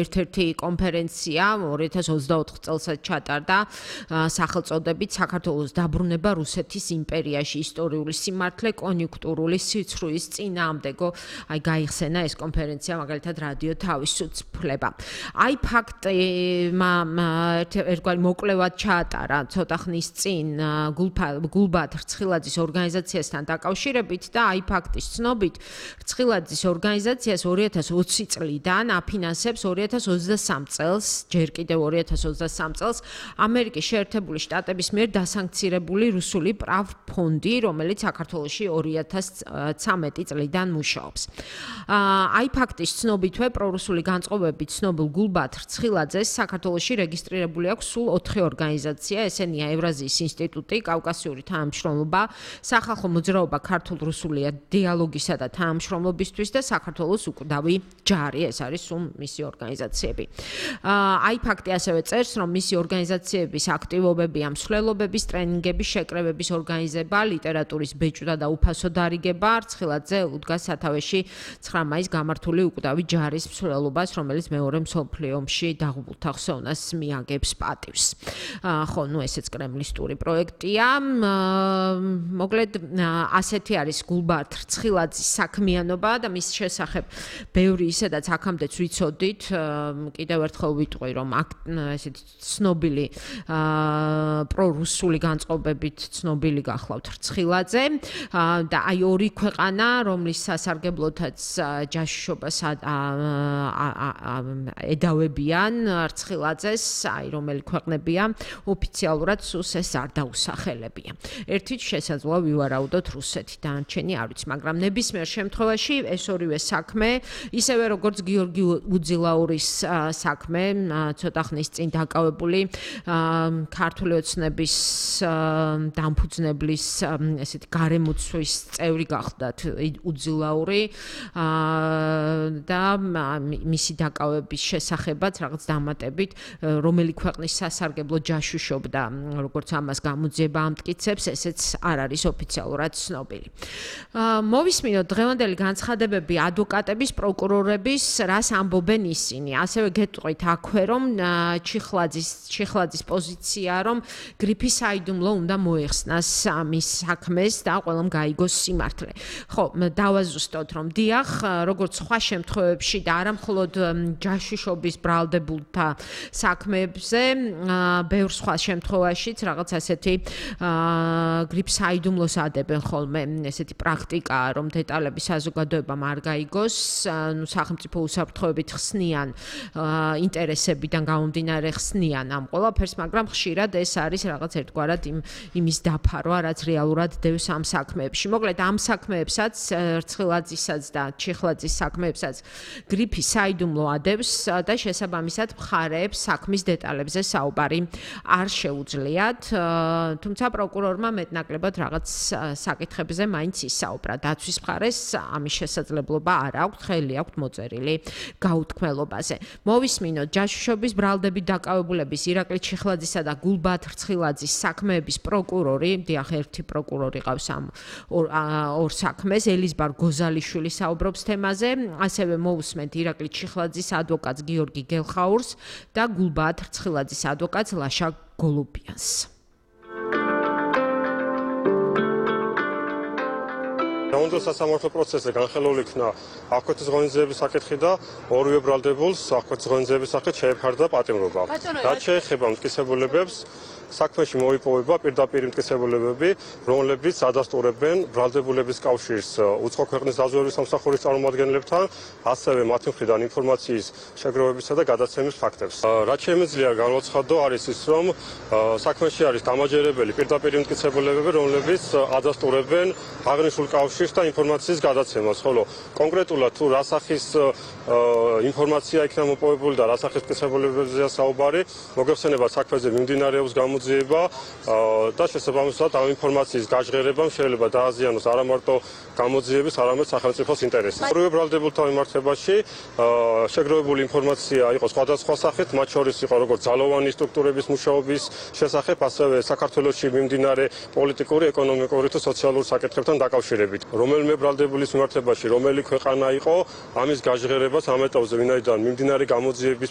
ერთ-ერთი კონფერენცია 2024 წელსაც ჩატარდა სახელწოდებით საქართველოს დაბრუნება რუსეთის იმპერიაში ისტორიული სიმართლე კონიუნქტურული სიცრუის წინააღმდეგო აი გაიხსენა ეს კონფერენცია მაგალითად რადიო თავისუფლება აი ფაქტმა ერთგვარი მოკვლევად ჩაატარა ცოტა ხნის წინ გულბათ რცხილაძის ორგანიზაციასთან დაკავშირებით და აი ფაქტის ცნობით რცხილაძის ორგანიზაციას 2020 წლიდან აფინანსებს 2023 წელს ჯერ კიდევ 2023 წელს ამერიკის შეერთებული შტატების მიერ დასანქცირებული რუსული ფონდი, რომელიც საქართველოში 2013 წლიდან მუშაობს. აი ფაქტის ცნობითვე პრორუსული განწყობებით ცნობილ გულბათ რცხილაძეს საქართველოში რეგისტრირებული აქვს სულ 4 ორგანიზაცია, ესენია ევრაზიის ინსტიტუტი, კავკასიური თანამშრომლობა, სახალხო მოძრაობა ქართულ-რუსული დიალოგისა და თანამშრომლობისთვის და საქართველოს უკვდავი ჯარი, ეს არის სულ მისი ორგანიზაციები. აი ფაქტი ასევე წერს, რომ მისი ორგანიზაციების აქტივობები ამ მსვლელობების, ტრენინგების, შეკრებების ორგანიზება, ლიტერატურის ბეჭვდა და უფასო დარიგება, რცხილაძე უდგას სათავეში 9 მაისს გამართული უკვდავი ჯარის მსვლელობას, რომელიც მეორე მსოფლიო ომში დაღუპულთა ხსოვნას მიაგებს პატივს. ხო, ესეც კრემლისტური პროექტია. მოკლედ, ასეთი არის გულბათ რცხილაძის საქმიანობა და მის შესახებ ბევრი ისედაც აქამდეც ვიცოდით, კიდევ ერთხელ ვიტყვი, რომ ესეთი ცნობილი პრორუსული განწყობებით ცნობილი გახლავთ რცხილაძე და აი ორი ქვეყანა, რომლის სასარგებლოთაც ჯაშუშობას ედავებიან რცხილაძეს, აი რომელი ქვეყნებია ოფიციალურად სულს ეს არ დაუსახელებია. ერთით შესაძლოა ვივარაუდოთ რუსეთი, დანარჩენი არ ვიცი, მაგრამ ნებისმიერ შემთხვევაში ეს ორივე საქმე, ისევე როგორც გიორგი უძილაურის საქმე, ცოტა ხნის წინ დაკავებული ქართული ოცნების დამფუძნებლის ესეთი გარემოცვის წევრი გახდათ უძილაური და მისი დაკავების შესახებაც რაღაც დამატებით რომელი ქვეყნის სასარგებლო ჯაშუშობდა, როგორც ამას გამოძიება ამტკიცებს, ესეც არ არის ოფიციალურად ცნობილი. მოვისმინოთ დღევანდელი განცხადებები ადვოკატების, პროკურორების, რას ამბობენ ისინი. ასევე გეტყვით აქვე, რომ ჩიხლაძის პოზიცია, რომ გრიფი საიდუმლო უნდა მოეხსნას მის საქმეს და ყველამ გაიგოს სიმართლე. ხო, დავაზუსტოთ, რომ დიახ, როგორც სხვა შემთხვევებში და არა მხოლოდ ჯაშუშობის ბრალდებულთა საქმეებზე, ბევრ სხვა შემთხვევაშიც რაღაც ასეთი გრიფ საიდუმლოს ადებენ ხოლმე ესეთი პრაქტიკაა, რომ დეტალები საზოგადოებამ არ გაიგოს, სახელმწიფო უსაფრთხოებით ხსნიან ინტერესებიდან გამომდინარე ხსნიან ამ ყველაფერს, მაგრამ ხშირად ეს არის რაღაც ერთგვარად იმის დაფარვა, რაც რეალურად დევს ამ საქმეებში. მოკლედ ამ საქმეებსაც, რცხილაძისაც და ჩიხლაძის საქმეებსაც გრიფი საიდუმლო ადევს და შესაბამისად მხარეებს საქმის დეტალებზე საუბარი არ შეუძლიათ, თუმცა პროკურორმა მეტნაკლებად რაღაც საკითხებზე მაინც ისაუბრა. დაცვის მხარეს ამის შესაძლებლობა არ აქვს, ხელი აქვს მოწერილი გაუთქმელობაზე. მოვისმინოთ ჯაშუშობის ბრალდებით დაკავებულების ირაკლი ჩიხლაძისა და გულბათ რცხილაძის საქმეების პროკურორი, დიახ, ერთი პროკურორი ყავს ამ ორ საქმეს, ელიზბარ გოზალიშვილი საუბრობს თემაზე, ასევე მოვუსმენთ ირაკლი ჩიხლაძის ადვოკატს გიორგი გელხაურს და გულბათ რცხილაძის ადვოკატს ლაშა გოლუბიანს. უნდა სასამართლო პროცესზე განხილული იქნა აღკვეთის ღონისძიების საკითხი და ორივე ბრალდებულს აღკვეთის ღონისძიების სახით შეეფარდა პატიმრობა. რაც შეეხება მტკიცებულებებს, საქმეში მოიპოვება პირდაპირ მტკიცებულებები, რომლებიც ადასტურებენ ბრალდებულების კავშირს უცხო ქვეყნის დაზვერვის სამსახურის წარმომადგენლებთან, ასევე მათი მხრიდან ინფორმაციის შეგროვებისა და გადაცემის ფაქტებს. რაც შემიძლია განვაცხადო არის ის, რომ საქმეში არის დამაჯერებელი პირდაპირ მტკიცებულებები, რომლებიც ადასტურებენ აღნიშნულ კავშირს და ინფორმაციის გადაცემას, ხოლო კონკრეტულად თუ რა სახის ინფორმაცია იქნება მოპოვებული და რა სახის მტკიცებულებებზეა საუბარი, მოგეხსენება საქმეზე მიმდინარეობს გამოძიება და შესაბამისად ამ ინფორმაციის გაჟღერებამ შეიძლება დააზიანოს არა მარტო გამოძიების, არამედ სახელმწიფოს ინტერესს. ორივე ბრალდებულთა მიმართებაში შეგროვებული ინფორმაცია იყო სხვადასხვა სახით, მათ შორის იყო როგორც ძალოვანი სტრუქტურების მუშაობის შესახებ, ასევე საქართველოში მიმდინარე პოლიტიკური, ეკონომიკური თუ სოციალური საკითხებთან დაკავშირებით. რომელიმე ბრალდებულის მიმართებაში რომელი ქვეყანა იყო, ამის გაჟღერებას ამ ეტაპზე, ვინაიდან მიმდინარე გამოძიების